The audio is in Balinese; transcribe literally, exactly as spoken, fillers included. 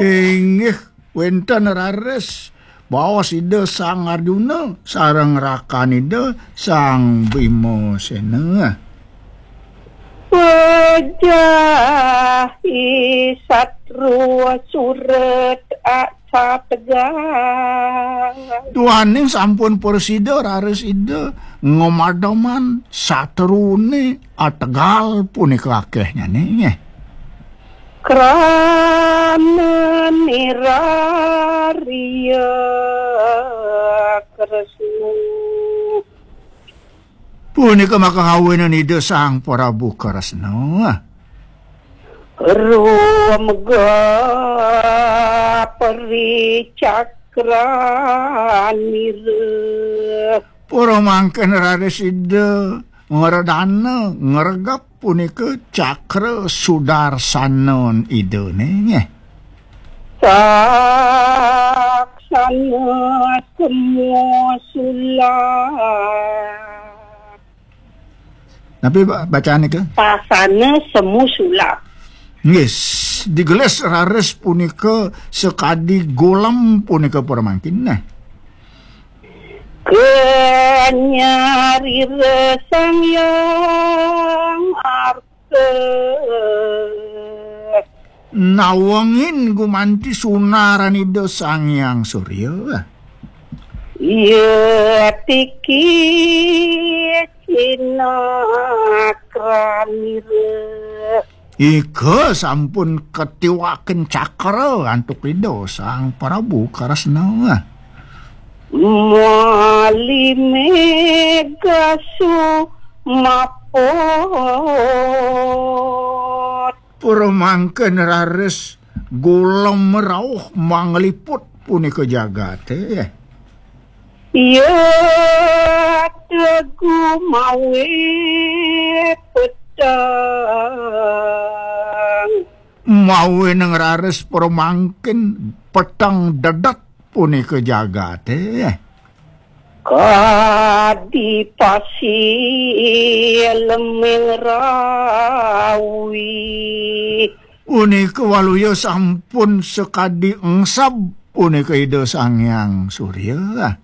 Inggih, wénten raris baos Ida Sang Arjuna sareng rakan Ida Sang Bima Séna. Pejahi satru suret aksa tegal. Duaning sampun prasida raris Ida ngamademan satrune ategal punika akéhnyané. Krana nirariya Kresna. Punika makahawinan Ida Sang Prabu Kresna. Rumega pericakranira. Pura mangkin raris Ida ngredana, ngregep punika cakra sudarsanan Idané. Saksana semu sulap. Napi ba-, bacaan nika? Saksana semu sulap. Nggih, digelis raris punika sakadi golem punika pura mangkin. Nah. Kanyarira Sang Hyang Arta. Nawengin gumanti sunaran Ida Sang Hyang Surya. Ya tiki cinakranira. Ika sampun katiwakin cakra antuk Ida Sang Prabu Kresna. Mali mega sumaput. Pura mangkin raris golem rauh mangliput punika jagaté. Ya tegu mawe petang. Mawinan raris pura mangkin peteng dedet punika jagaté. Kadi pasir leming rawi. Punika waluya sampun sakadi engseb punika Ida Sang Hyang Surya.